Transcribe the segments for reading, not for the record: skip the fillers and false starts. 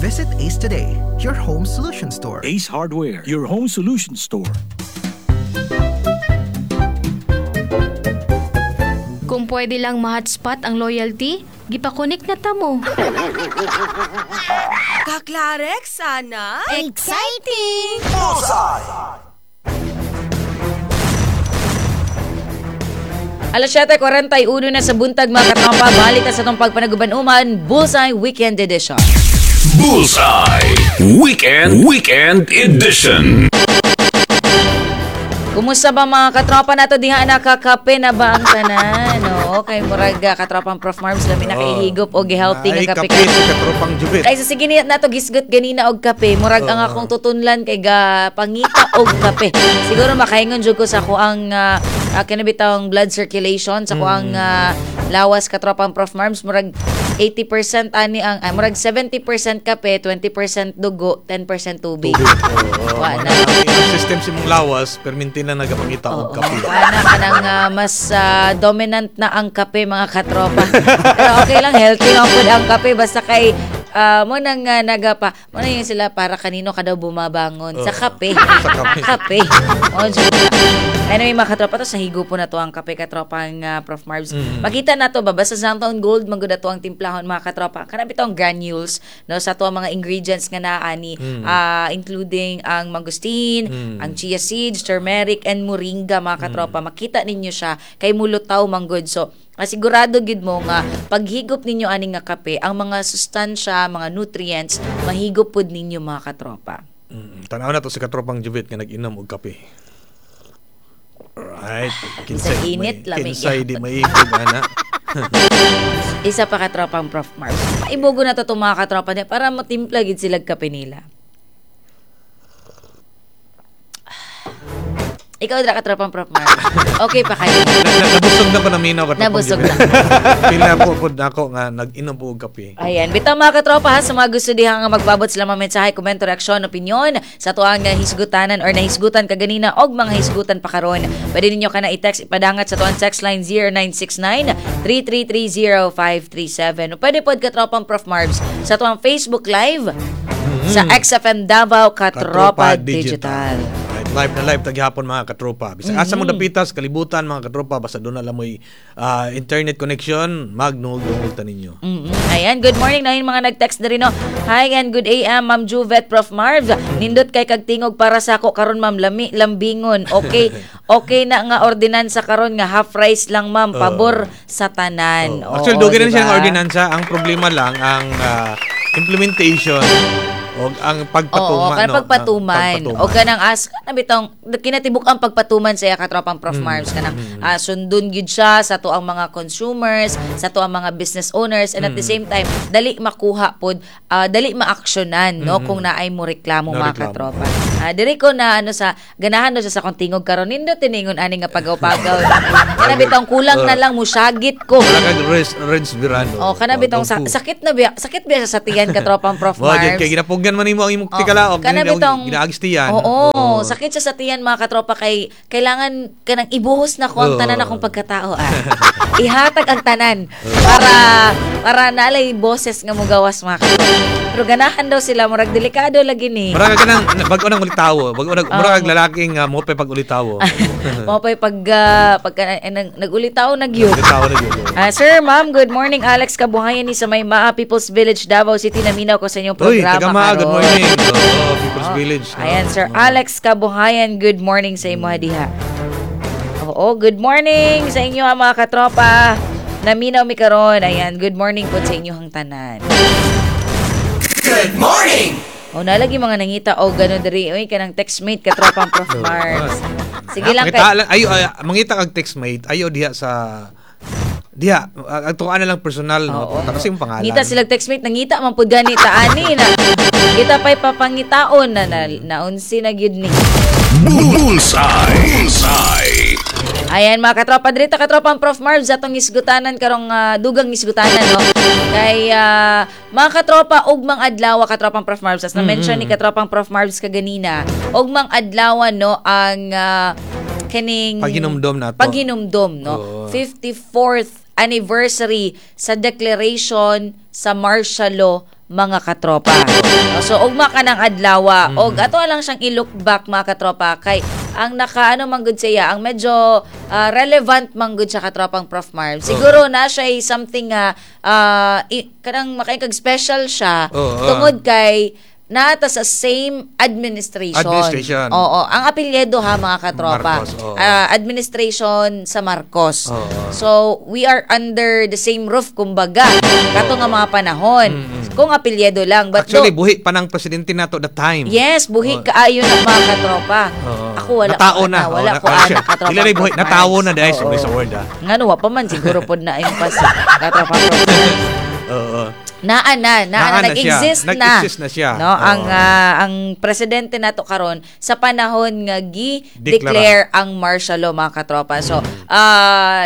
Visit Ace today, your home solution store. Ace Hardware, your home solution store. Kung pwede lang ma-hotspot ang loyalty, gipakonek na ta mo. Kaklarex, sana? Exciting! Alas 7:41 na sa buntag, mga katropa. Balik na sa itong pagpanaguban-uman, Bullseye Weekend Edition. Bullseye Weekend Weekend Edition. Kumusta ba, mga katropa nato diha? Nakakape na ba ang tanan? Oo, kay murag katropang Prof Marbs lami na kay higop og healthy Ay, nga kape. kape sa katropang Jubit. Kay sa sige ni nato gisgot ganina og kape, murag ang akong tutunlan kay ga pangita og kape. Siguro makaingon jud ko sa ako ang kini bitawng blood circulation sa ako ang lawas, katropang Prof Marbs, murag 80% ani ang ay, murag 70% kape, 20% dugo, 10% tubig. Oo, Wa na. Ang system sa imong lawas, perminti na nagapangita og kape. Wala kanang mas dominant na ang kape, mga katropa. Pero okay lang, healthy man pud ang kape basta kay mo nang nagapa mo na yung sila para kanino ka daw bumabangon sa kape. Sa kape. Kape. Oh, dyan. Anyway, mga katropa, to sa higo po na to ang kape, katropang Prof Marbs. Makita na to ba basta Xanthone Gold man gud ato ang timplahon, mga katropa. Kana bitong granules, no, sa to ang mga ingredients nga naani, including ang mangosteen, ang chia seeds, turmeric and moringa, mga katropa. Makita ninyo siya kay mulutaw man gud. So, asigurado gid mo nga paghigop ninyo ani nga kape, ang mga sustansya, mga nutrients mahigop pud ninyo, mga katropa. Tanaw na to si katropang Jubit nga nag-inom og kape. Alright. Sa init, lamig. Kinsay di maibog, ana. Isa pa, katropang Prof Mars. Paibugo na to itong mga katropa niya para matimpla gid sila kape nila. Ikaw dra, katropang Prof Mars. Okay pa kayo? Nabusog na ko na minaw, katropang Nabusog Jubit. na. Pila po po nako nga nag-inom po og kape. Ayan, bitaw, mga katropa ha, sa mga gusto diha nga magpaabot sila mga mensahe, komento, reaksyon, opinion sa tuang hisgutanan or nahisgutan kaganina og mga hisgutan pa karon. Pwede ninyo kana i-text, ipadangat sa tuang text line 0969 3330537. O pwede pod, katropang Prof Marbs, sa tuang Facebook Live sa XFM Davao Katropa Digital. Right, live na live taghapon, mga katropa. Bisag asa mo dapitas kalibutan, mga katropa, basta doon na lang mo'y internet connection, magnuog-dungog ta ninyo. Ayan, good morning na yung mga nag-text na rin, no. Hi and good AM, Ma'am Juvet, Prof Marv. Nindot kay kagtingog para sa ako karon, Ma'am, lami lambingon. Okay, okay na nga ordinansa karon nga half rice lang, Ma'am, pabor sa tanan. Oh. Actually, Oo, dugay na siya diba? ng ordinansa. Ang problema lang, ang implementation o ang pagpatuman. Oo, kanang no? pagpatuman. Ang pagpatuman. O kanang as kana bitong kinatibuk ang pagpatuman sa iya, katropang Prof Marbs, kanang sundon gyud siya sa to ang mga consumers, sa to ang mga business owners, and at the same time dali makuha pod, dali maaksyonan, no, kung naay mo reklamo, No mga reklamo. katropa. Diri ko na ano sa ganahan no siya sa akong tingog karon, nindot tiningon ani nga pagaw-pagaw. Kana bitong kulang na lang musyagit ko. Wala kag Reds Virano. Oh, kana bitong sakit na biya, sakit biya siya sa tiyan, katropang Prof Mo, Marbs. kay ginapugan man nimo ang imong Oh, tikalaog, kana bitong ginaagistiyan. Oo, sakit siya sa tiyan, mga katropa, kay kailangan kanang ibuhos na ko ang tanan akong pagkatao ah. Ihatag ang tanan para para naalay boses nga mugawas, mga katropa. Pero ganahan daw sila, murag delikado lagi ni. Mura ka kanang bag-o nang ulitawo, bag-o nag mura kag lalaki nga mo pa pag ulitawo. Mao pa'y pag pagka nagulitaw na gyud. Ulitawo na gyud. Sir, ma'am, good morning. Alex Kabuhayan ni sa may Maa People's Village, Davao City. Naminaw ko sa inyong Uy, programa taga Maa, good karon. morning. Oo, People's Village. No? Ayan, Sir Oo. Alex Kabuhayan, good morning sa imo diha. Oo, good morning sa inyo mga katropa. Naminaw mi karon. Ayan, good morning po sa inyong tanan. Good morning! O nalagi mga nangita o gano diri oy kanang textmate, katropang Prof Mars. Sige lang Mangita kay lang ayo ay, mangita kag textmate ayo diha sa diha ang tuan na lang personal, no, Oo. tapos yung pangalan. Ngita sila textmate, nangita man pud gani ta ani na. Kita pa'y papangitaon na na naunsi na gyud ni. Bullseye. Bullseye. Ayan, mga katropa, dirita, katropang Prof Marbs, atong isgutanan karong dugang isgutanan, no. Kay mga katropa, ugmang adlaw, katropang Prof Marbs, as na-mention ni katropang Prof Marbs kaganina, ugmang adlaw, no, ang kining Paghinumdom nato. Paghinumdom, no. Oo. 54th anniversary sa declaration sa martial law mga katropa. No, so ugma ka ng adlawa og ato lang siyang i-look back, mga katropa, kay ang nakaano man gud siya, ang medyo relevant man gud sa katropang Prof Marv. Siguro na siya ay something nga kanang makaikag special siya tungod kay naata sa same administration. Administration. Oo, ang apelyido ha, mga katropa. Marcos, oo. Administration sa Marcos. Oo. So we are under the same roof kumbaga kato nga mga panahon. Kung apelyido lang, but Actually, do, buhi pa ng presidente nato that time. Yes, buhi kaayo na, mga katropa. Oo. Ako wala Natao ko na. ana, wala Oo, ko ana, katropa. Dili na buhi, Prof. natao na Marks. dahil Oo. sorry sa word ah. Ngano wa pa man siguro pod na impas katropa Prof. Marks. Oo. Naa na, naa Naa na, na siya. nag-exist na. Nag-exist na siya. No, ang Oo. ang presidente nato karon sa panahon nga gi-declare ang martial law, mga katropa. So,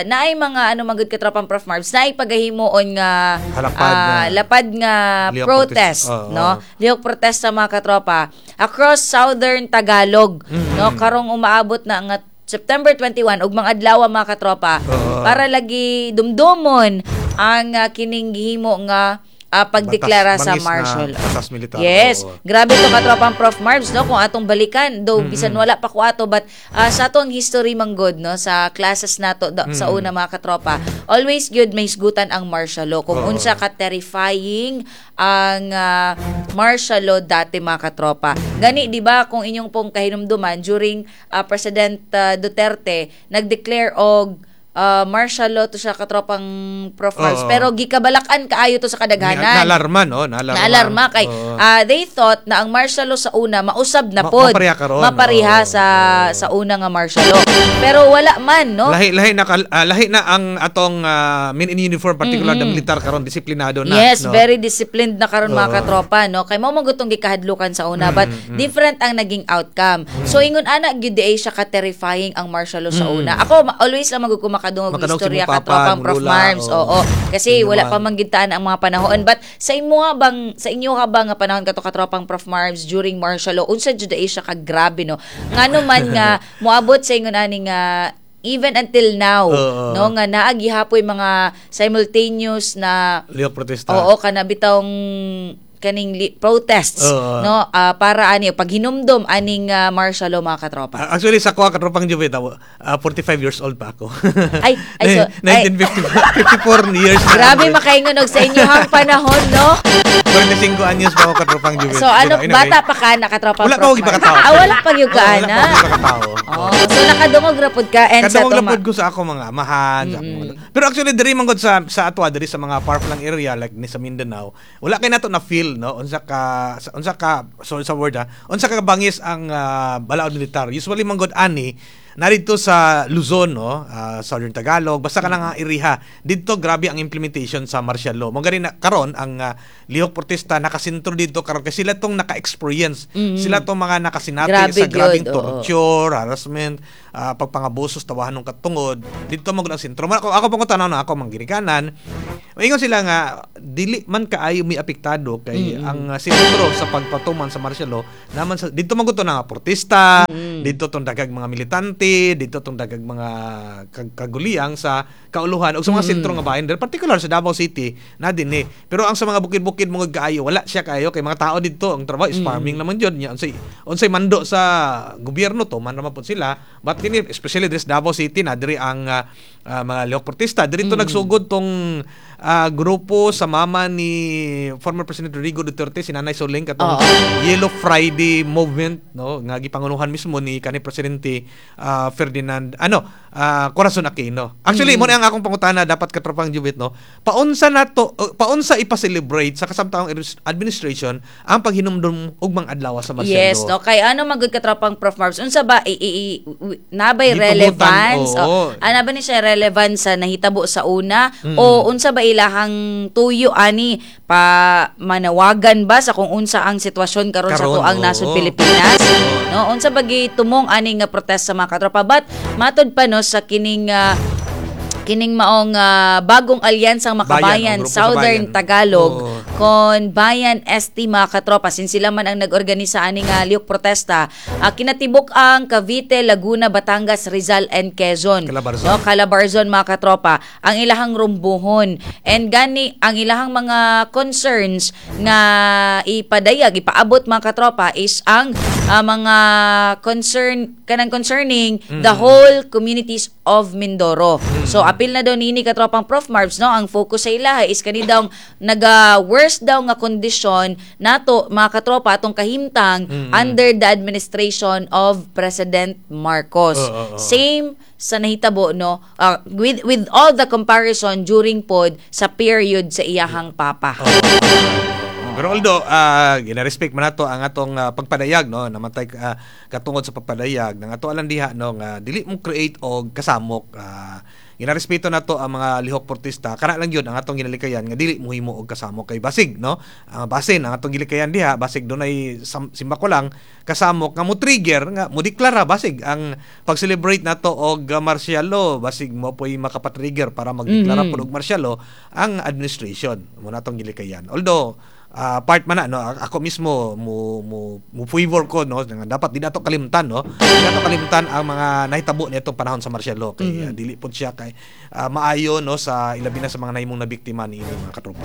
naay mga ano magud, katropang Prof Marbs, naay pagahimuon nga Halapad na- lapad nga Lihok protest, protest. Oo. no? Lihok protesta, mga katropa, across Southern Tagalog, no? Karong umaabot na nga September 21 ug mga adlaw, mga katropa, Oo. para lagi dumdumon ang kining gihimo nga pagdeklara Batas- sa bangis na martial law. batas militar. Yes. Oo. Grabe to, katropang Prof Marbs, no, kung atong balikan, though bisan wala pa ko ato, but sa atong history manggod, no, sa classes nato sa una, mga katropa, always good may hisgutan ang martial law kung unsa ka terrifying ang martial law dati, mga katropa. Gani di ba kung inyong pong kahinumduman during President Duterte nag-declare og martial law to siya, katropang Prof Marbs, Oo. pero gikabalakan kaayo to sa kadaghanan. Naalarma, no? Naalarma. Naalarma kay Oo. they thought na ang martial law sa una mausab na pod. Mapareha karon. Mapareha Oo. sa sa una nga martial law. Pero wala man, no? Lahi lahi na lahi na ang atong men in uniform, particular the militar karon, disiplinado na. Yes, no? very disciplined na karon, mga Oo. katropa, no? Kay mao man gud tong gikahadlukan sa una, but different ang naging outcome. So ingon ana gyud di ay siya ka terrifying ang martial law sa una. Ako always lang magud ko makadungog Makadungog sa istorya imong papa, katropang imong Prof lola, Marms. oo. Oo. Kasi Inyo wala man. pa man gid taan ang mga panahon. But sa imo nga bang sa inyo ka ba nga panahon kato, katropang Prof Marms, during martial law, unsa jud ay siya ka grabe, no? Ngano man nga moabot sa ingon ani nga even until now, Oo. no, nga naa gihapoy mga simultaneous na Lihok protesta. Oo, kana bitawng kaning protests, Oo. no, para ani paghinumdom aning martial law, mga katropa. Actually, sa kuha, katropang Juve, 45 years old pa ako. Ay, ay, so, ay. 1954 years na. Grabe makaingon og sa inyohang panahon, no? 45 anyos pa ako, katropang Juve. So ano, Pero anyway, bata pa ka na, katropa Wala pa Prof ako gipakatao. Mark? Ah, wala pa gyud ka Oo, ana. wala pa ako gipakatao. Oh, so nakadungog ra pud ka and sa Kadungog tuma. lapod ko sa ako mga amahan, sa akong mga- Pero actually diri man gud sa atwa diri sa mga far-flung area like ni sa Mindanao, wala kay nato na feel, no, unsa ka, sorry sa word ha, unsa ka bangis ang balaod militar. Usually man gud ani narito sa Luzon, no, Southern Tagalog, basta ka lang ang iriha. Didto grabe ang implementation sa martial law. Mo gani na karon ang lihok protesta nakasentro didto karon kay sila tong naka-experience. Sila tong mga nakasinati Grabe sa grabeng gyud, oo. torture, harassment, pagpangabusos, tawahan ng katungod. Dito mo ang sentro. Ako pangutana na ako mangginikanan. Maingon sila nga dili man kaayo may apektado kay ang sentro sa pagpatuman sa martial law naman sa dito man gud to na nga protesta, dito tong dagag mga militante, dito tong dagag mga kaguliyang sa kauluhan o sa mga sentro nga bahin, particular sa Davao City na din eh. Pero ang sa mga bukid-bukid mo kaayo wala siya kaayo kay mga tao dito ang trabaho is farming naman jud nya unsay mando sa gobyerno to man naman pud sila, but kini especially this Davao City na diri ang mga lihok protesta diri to nagsugod tong grupo sa mama ni former President Rodrigo Duterte, si Nanay Soling, katong Yellow Friday movement, no, nga gipangunuhan mismo ni kani presidente Ferdinand ano Corazon Aquino. Actually, mo na ang akong pangutana dapat, katropang Jubit, no, paunsa nato paunsa ipa-celebrate sa kasamtaong administration ang paghinumdum og mga adlaw sa martial Yes, law? no, kay ano man gud katropang Prof Marbs, unsa ba nabay Gipabutan, relevance? oo. O, ana ba ni siya relevance sa nahitabo sa una o unsa ba ilahang tuyo ani pa manawagan ba sa kung unsa ang sitwasyon karon sa Karon, tuang oo. nasod Pilipinas? No, unsa ba gitumong ani nga protesta, mga katropa? But matod pa, no, sa kining Kining maong bagong alyansang Makabayan, Bayan, o grupo sa Southern bayan. Tagalog Oo. kon Bayan ST, mga katropa, sin sila man ang nag-organisa ani nga lihok protesta. Kinatibuk ang Cavite, Laguna, Batangas, Rizal and Quezon. Calabarzon. No, Calabarzon, mga katropa, ang ilahang rumbuhon. And gani ang ilahang mga concerns nga ipadayag, ipaabot, mga katropa, is ang mga concern kanang concerning the whole communities of Mindoro. So apil na daw nini, katropang Prof Marbs, no, ang focus sa ilaha is kani daw naga worst daw nga kondisyon nato, mga katropa, atong kahimtang under the administration of President Marcos. Oo, oo. Same sa nahitabo, no, with all the comparison during pod sa period sa iyahang papa. Pero although gina-respect man nato ang atong pagpadayag, no, namatay katungod sa pagpadayag nang ato alang diha, no, nga dili mo create og kasamok, ginarespeto nato ang mga lihok protesta. Kana lang yun ang atong ginalikayan nga dili mo himo og kasamok kay basig, no, ang basin ang atong gilikayan diha, basig dunay simbako lang kasamok nga mo trigger nga mo deklara, basig ang pag-celebrate nato og martial law, basig mo po'y makapatrigger para magdeklara pod og martial law ang administration mo na atong gilikayan. Although part man na, no, ako mismo mo mo mo favor ko, no, nga dapat di nato kalimtan, no, di nato kalimtan ang mga nahitabo nitong panahon sa martial law kay dili pod siya kay maayo, no, sa ilabi na sa mga nahimong na biktima niini, mga katropa.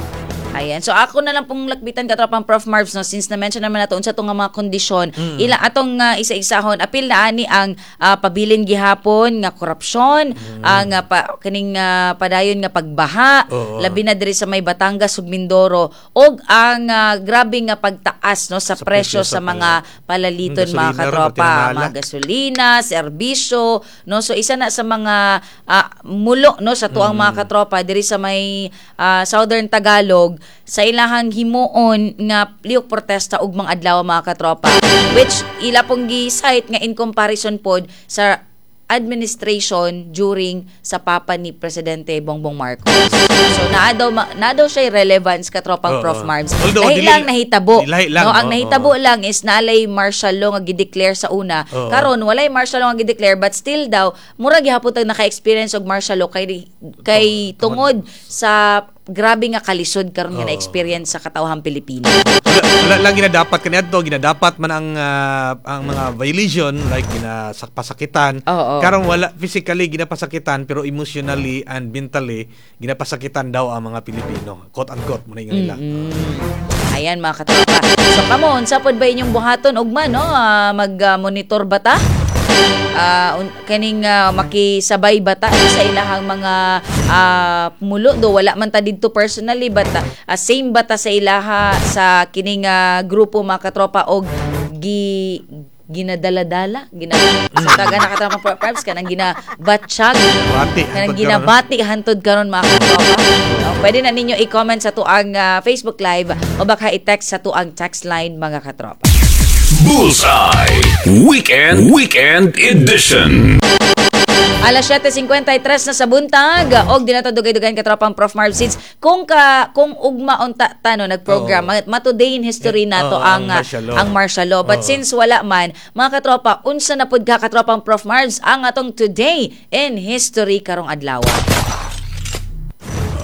Ayan. So ako na lang pong lakbitan, katropang Prof Marvs, no, since na-mention naman nato unsa tong nga mga kondisyon. Ila atong isa-isahon, apil na ani ang pabilin gihapon nga korupsyon, ang kaning padayon nga pagbaha, labi na diri sa may Batangas ug Mindoro, ug ang grabe nga pagtaas, no, sa presyo presyo sa sa mga palaliton, Gasolina mga ron, katropa, pati na mga gasolina, serbisyo, no. So isa na sa mga mulo, no, sa tuang mga katropa diri sa may Southern Tagalog sa ilahang himuon nga lihok protesta ug mga adlaw, mga katropa, which ila pong gi-cite nga in comparison pod sa administration during sa papa ni Presidente Bongbong Marcos. So naa daw siya relevance, katropang Prof Marbs. Although, Lahi lang nahitabo. Lahi lang, no, ang nahitabo lang is naalay martial law nga gideclare sa una. Karon walay martial law nga gideclare, but still daw mura gihapon tag naka-experience og martial law kay kay tungod sa grabe nga kalisod karon nga na-experience sa katawhang Pilipino. Wala lang ginadapat kaniadto, ginadapat man ang mga violation like ginapasakitan. Karon wala physically ginapasakitan, pero emotionally and mentally ginapasakitan daw ang mga Pilipino. Quote unquote mo na yung nila. Ayan, mga katropa. So kamo, unsa pod ba inyong buhaton ugma, no? Mag-monitor ba ta? Kaning makisabay ba ta sa ilahang mga mulo do wala man ta didto personally, but same ba ta sa ilaha sa kining grupo, mga katropa, og gi ginadala-dala gina sa taga na katropa Props kanang ginabatsyag Bati, kanang hantod karon. ginabati hantod karon, mga katropa. No, pwede na ninyo i-comment sa tuang Facebook Live o baka i-text sa tuang text line, mga katropa. Bullseye Weekend Weekend Edition. Alas 7:53 na sa buntag og di na to dugay-dugayan, katropang Prof Marv, since kung ugma unta ta, no, nagprogram ma-today in history nato Oo, ang ang martial law. ang martial law. But since wala man, mga katropa, unsa na pud ka, katropang Prof Marvs, ang atong today in history karong adlaw?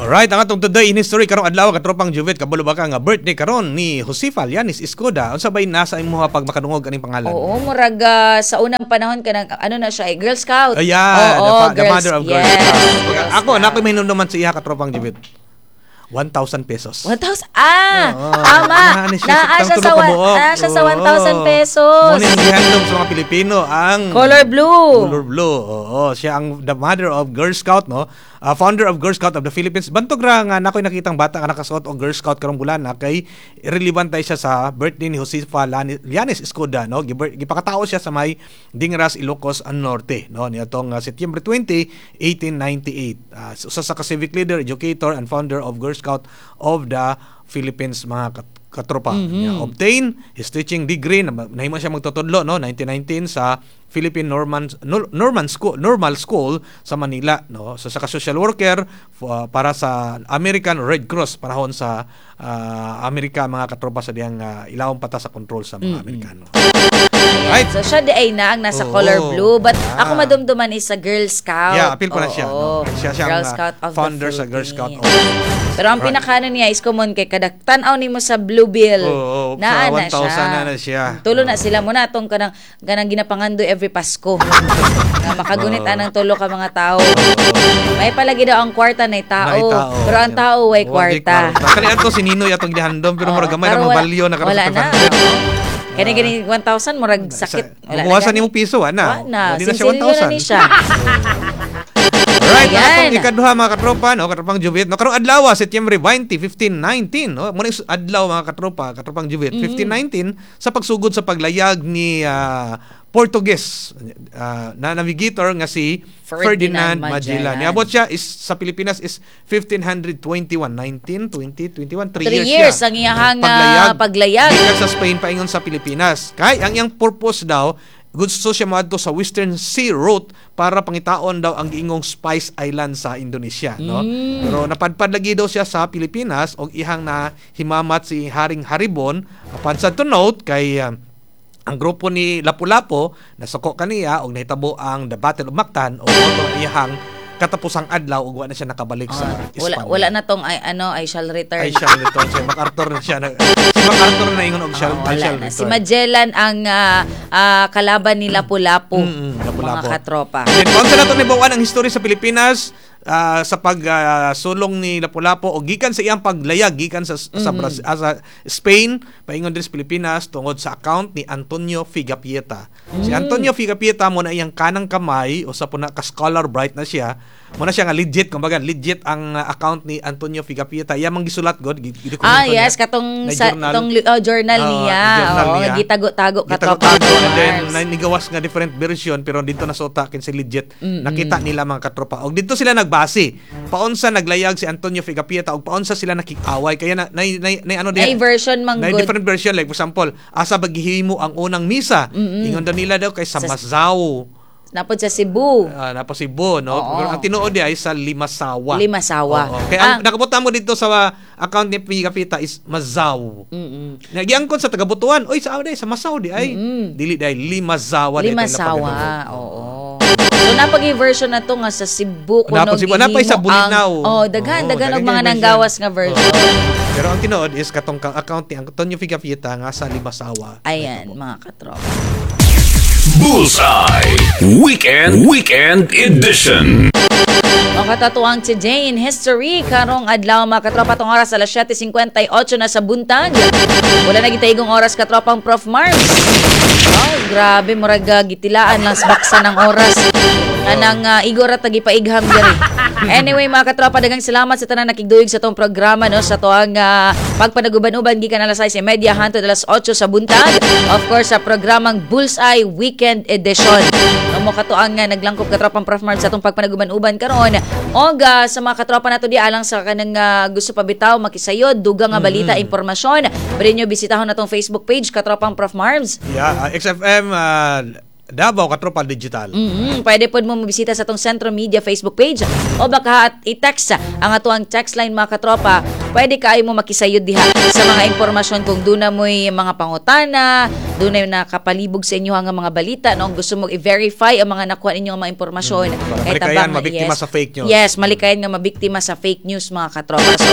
Alright, ang atong today in history karong adlaw, katropang Juvet, kabalo ba ka nga birthday karon ni Josefa Llanes Escoda? Unsa bay nasa imuha pag makadungog aning pangalan? Oo, murag sa unang panahon kanang ano na siya, eh, Girl Scout. Ayan, Oo, the mother of Girl yes, Scout. Girl Ako, Scout. na ako may naman sa iya, katropang Juvet. 1,000 pesos. 1,000. Ah, Oo. tama. Naa siya Naa siya tulo sa ka buok. naa siya sa Oo. 1,000 pesos. Mo ni ang gihandom sa mga Pilipino ang Color blue. Color blue. Oo, siya ang the mother of Girl Scout, no? Founder of Girl Scout of the Philippines. Bantog ra nga nakoy nakitang bata nga nakasuot og Girl Scout karong bulan na kay relevant tay siya sa birthday ni Josefa Llanes Escoda, no? Gipakatao siya sa may Dingras, Ilocos Norte, no? Niadtong September 20, 1898. Usa sa ka civic leader, educator and founder of Girl Scout of the Philippines, mga katropa. Niya obtain his teaching degree, nahimo siya magtutudlo, no, 1919 sa Philippine Norman Norman School Normal School sa Manila, no. So sa ka social worker para sa American Red Cross panahon sa Amerika, mga katropa, sa diyang ilawom pata sa control sa mga Amerikano. Ayan. Right. So siya di ay na ang nasa color blue, but ako madumduman is sa Girl Scout. Yeah, apil pa na siya. Oo. No? Siya Girl ang Scout of the founder sa Girl Scout of Philippines. Pero ang pinakaano niya is common kay kada tan-aw nimo sa Blue Bill. Oo, naa sa na 1,000 siya. na na siya. Tulo na sila mo na atong kanang kanang ginapangandoy every Pasko. Nga makagunit anang tulo ka mga tao. May palagi daw ang kwarta na tao, Naay tao. pero ang tao way Way kwarta. Kani ato si Ninoy atong gihandom pero Oo, murag gamay pero ra wala- balyo na karon wala sa na. 500. Kani gani 1,000 murag sakit. Wala na Buwasan gani. nimo piso wa na. Wa na. Di na siya Sinsilyo na 1,000. ni siya. Right, Ayan. ang atong ikaduha mga katropa, no, katropang Juvet. No, karong adlaw, Setyembre 20, 1519, no. Mo adlaw mga katropa, katropang Juvet, 1519 sa pagsugod sa paglayag ni Portuguese na navigator nga si Ferdinand Ferdinand, Magellan. Magellan. Niabot siya is sa Pilipinas is 1521, 19, 20, 21, 3 Three years, years siya. ang iyahang, paglayag. Gikan sa Spain paingon sa Pilipinas. Kay ang iyang purpose daw, gusto siya moadto sa Western Sea Route para pangitaon daw ang giingong Spice Island sa Indonesia, no? Pero napadpad lagi daw siya sa Pilipinas og ihang na himamat si Haring Haribon. Apan sad to note kay ang grupo ni Lapu-Lapu nasuko kaniya og nahitabo ang The Battle of Mactan og mao iyang katapusang adlaw ug wa na siya nakabalik sa Wala Espanya. wala na tong ay ano I shall return. I shall return. Si MacArthur na siya. Si MacArthur na ingon og shall, Oo, I wala shall na. return. Si Magellan ang kalaban ni Lapu-Lapu. Lapu-Lapu. Mga katropa. Then, kung sa nato nibawan ang history sa Pilipinas sa pagsulong ni Lapu-Lapu o gikan sa iyang paglayag gikan sa sa, sa Spain paingon diri sa Pilipinas tungod sa account ni Antonio Figapieta. Si Antonio Figapieta mo na iyang kanang kamay usa po na ka scholar bright na siya. Mo na siya nga legit, kumbaga legit ang account ni Antonio Figapieta. Iya mang gisulat god Ah, yes, katong na sa journal. tong journal niya. Journal Oo, niya. gitago-tago katropa. Gitago-tago and then Mars. nigawas nga different version pero dito na suta kinsa legit. Nakita nila mga katropa. Og dito sila nagbase. Paunsa naglayag si Antonio Figapieta og paunsa sila nakig-away kaya na, na, na, na ano Nay version man na gud. different version, like for example, asa ba gihimo ang unang misa? Ingon daw nila daw kay sa Mazao. Napod sa Cebu. Napa Cebu, no? Oo. Pero ang tinuod ay sa Limasawa. Limasawa. Oo. Kaya ang nakabutan mo dito sa account ni Pigapita is Mazaw. Nagiangkon sa taga-Butuan. Oy, sa day sa Masaw di ay. Dili di ay Limasawa. di ay Limasawa. napagano. Oo. So napag version na to nga sa Cebu kuno Napag Cebu. Napay sa gihimo Bolinao. Oh, daghan Oo, daghan og daghan mga kay version. nanggawas nga version. Oo. Pero ang tinuod is katong account ni Antonio Figapieta nga sa Limasawa. Ayan, mga katropa. Bullseye Weekend Edition. Ang katatuang Today in History, karong adlaw mga katropa, tong oras alas 7:58 na sa buntag. Wala na gitaigong oras katropang Prof Mars. Oh, grabe murag gitilaan lang sa baksa ng oras. Anang igor at tagipaigam diri. Anyway mga katropa, daghang salamat sa tanan nakigduyog sa tong programa no sa tuang pagpanaguban-uban gikan alas 6:30 hangtod alas 8 sa buntag. Of course sa programang Bullseye Weekend Edition. No mo katuang nga naglangkob katropang Prof Marv sa atong pagpanaguban-uban karon. Og sa mga katropa nato di alang sa kanang gusto pa bitaw makisayod dugang nga balita impormasyon, pwede nyo bisitahon natong Facebook page katropang Prof Marvs. Yeah, XFM Davao Katropa Digital. Pwede pod mo mabisita sa atong Centro Media Facebook page o baka at i-text ang atuang text line mga katropa. Pwede kaayo mo makisayod diha sa mga impormasyon kung doon na mo'y mga pangutana, doon na nakapalibog sa inyo ang mga balita, no? Kung gusto mo i-verify ang mga nakuha ninyong mga impormasyon. Para Kay malikayan tabang, mabiktima yes. sa fake news. Yes, malikayan nga mabiktima sa fake news mga katropa. So,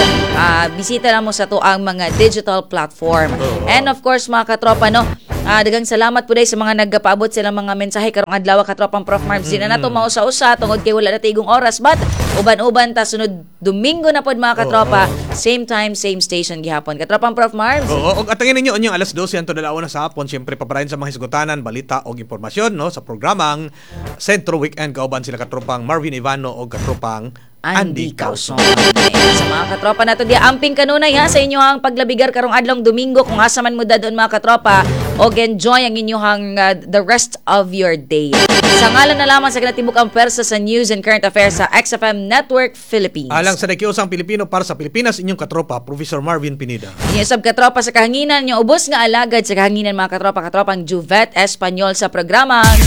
bisita na mo sa to ang mga digital platform. And of course mga katropa, no, daghang salamat po dahil sa mga nagpaabot silang mga mensahe karong adlaw katropang Prof Marms. Di na nato mausa-usa tungod kay wala na tigong oras, but uban-uban ta sunod Domingo na pod mga katropa. Same time, same station gihapon. Katropang Prof Marms. Oo, og atangin ninyo unyang alas 12 hantod alauna sa hapon, syempre paparayon sa mga hisgutanan, balita og impormasyon no sa programang Sentro Weekend kauban sila katropang Marvin Ivano og katropang Andy Causon. Ayan, sa mga katropa nato di amping kanunay ha sa inyo ang paglabigar karong adlong Domingo kung asa man mo dadon mga katropa og enjoy ang inyong the rest of your day. Sa ngalan na lamang sa kinatibuk ang pwersa sa news and current affairs sa XFM Network Philippines. Alang sa nakiusang Pilipino para sa Pilipinas, inyong katropa, Professor Marvin Pineda. Inyo sab katropa sa kahanginan, inyong ubos nga alagad sa kahanginan mga katropa, katropang Juvet Espanyol sa programang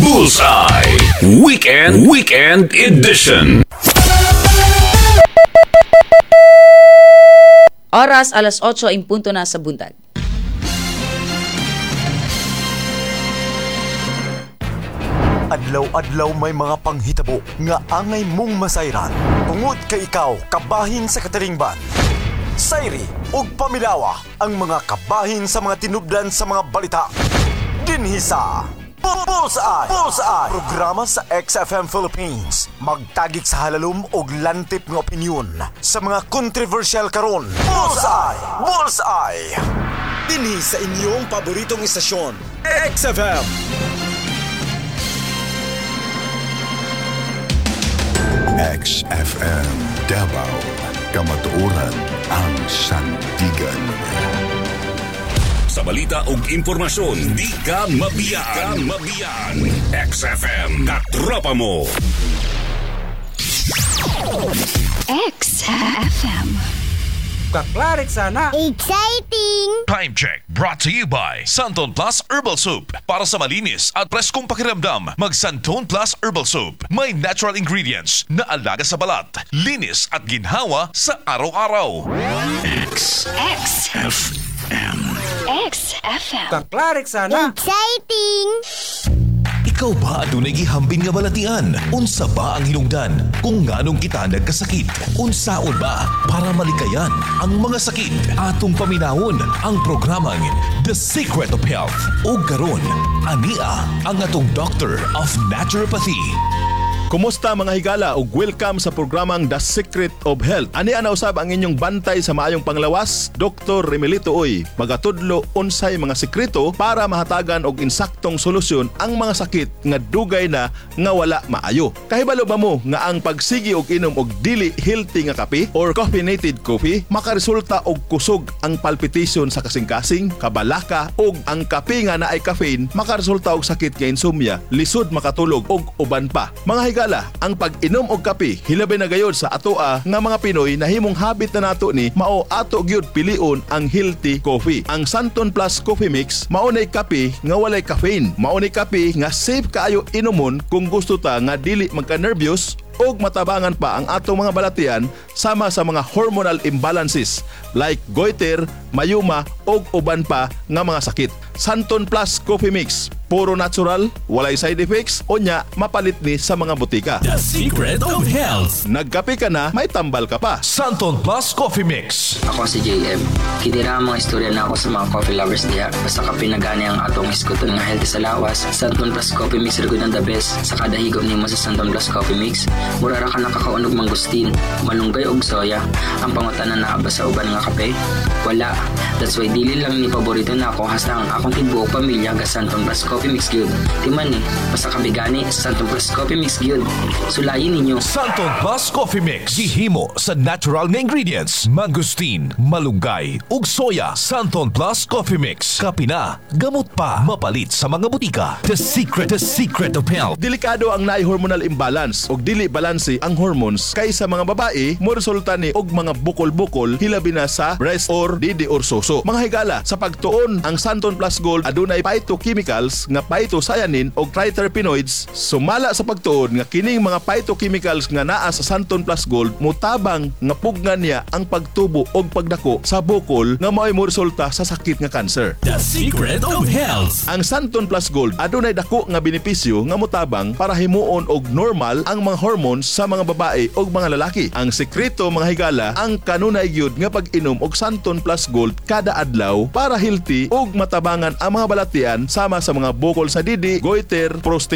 Bullseye Weekend Edition. Oras alas 8 in punto na sa buntag. Adlaw-adlaw may mga panghitabo nga angay mong masayran. Tungod kay ikaw kabahin sa katilingban. Sayri ug pamilawa ang mga kabahin sa mga tinubdan sa mga balita. Dinhi sa Bullseye! Bullseye! Programa sa XFM Philippines. Magtagik sa halalom og lantip nga opinyon sa mga controversial karon. Bullseye! Bullseye! Dinhi sa inyong paboritong istasyon, XFM. XFM Davao, Kamatuoran ang sandigan. Sa balita ug impormasyon, di ka mabiyaan. Mabiyaan. XFM, katropa mo. XFM. Kaklarik sana. Exciting! Time check brought to you by Santon Plus Herbal Soup. Para sa malinis at preskong pakiramdam, mag Santon Plus Herbal Soup. May natural ingredients na alaga sa balat, linis at ginhawa sa araw-araw. X. X FM. XFM. Kaklarik sana. Exciting! Ikaw ba adunay gihambin nga balatian? Unsa ba ang hinungdan kung nganong kita nagkasakit? Unsaon ba para malikayan ang mga sakit? Atong paminawon ang programang The Secret of Health. O karon, ania ang atong Doctor of Naturopathy. Kumusta, mga higala, ug welcome sa programang The Secret of Health. Ani ana usab ang inyong bantay sa maayong panglawas, Dr. Remelito Uy, magatudlo unsay mga sekreto para mahatagan og insaktong solusyon ang mga sakit nga dugay na nga wala maayo. Kahibalo ba mo nga ang pagsigi og inom og dili healthy nga kape or caffeinated coffee makaresulta og kusog ang palpitation sa kasing-kasing, kabalaka, ug ang kape nga naay caffeine makaresulta og sakit nga insomnia, lisod makatulog ug uban pa? Mga higala, ang pag-inom og kape hilabi na gayod sa atoa nga mga Pinoy, nahimong habit na nato ni, mao ato gyud pilion ang healthy coffee. Ang Santon Plus Coffee Mix mao nay kape nga walay caffeine. Mao nay kape nga safe kaayo inomon kung gusto ta nga dili magka-nervyos ug matabangan pa ang atong mga balatian sama sa mga hormonal imbalances like goiter, myoma ug uban pa nga mga sakit. Santon Plus Coffee Mix, puro natural, walay side effects, unya mapalit ni sa mga botika. The Secret of Health. Nagkape ka na, may tambal ka pa. Santon Plus Coffee Mix. Ako si JM. Kinira ang mga istorya na ako sa mga coffee lovers diha. Basta kape na gani ang atong hisguton nga healthy sa lawas. Santon Plus Coffee Mix ra gud ang the best. Sa kada higop nimo sa Santon Plus Coffee Mix, mura ra ka nakakaon og mangustin, malunggay og soya. Ang pangutana, naa ba sa uban nga kape? Wala. That's why dili lang ni paborito nako, hasta ang akong tibuok pamilya ga Santon Plus Coffee Mix gyud. Timan ni, basta kape gani, Santon Plus Coffee Mix gyud. Sulayin ninyo. Santon Plus Coffee Mix. Gihimo sa natural nga ingredients. Mangosteen, malunggay, ug soya. Santon Plus Coffee Mix. Kape na, gamot pa. Mapalit sa mga botika. The secret of health. Delikado ang naay hormonal imbalance og dili balanse ang hormones kay sa mga babae mo resulta ni og mga bukol-bukol, hilabi na sa breast or didi or suso. Mga higala, sa pagtuon, ang Santon Plus Gold adunay phytochemicals nga phytocyanin og triterpenoids. Sumala sa pagtuon nga kining mga phytochemicals nga naa sa Santon Plus Gold mutabang nga pugnan niya ang pagtubo og pagdako sa bukol nga mao'y moresulta sa sakit nga cancer. The Secret of Health. Ang Santon Plus Gold adunay dako nga benepisyo nga motabang para himuon og normal ang mga hormones sa mga babae ug mga lalaki. Ang sekreto, mga higala, ang kanunay gyud nga pag-inom og Santon Plus Gold kada adlaw para healthy ug matabangan ang mga balatian sama sa mga bukol sa didi, goiter, prostate.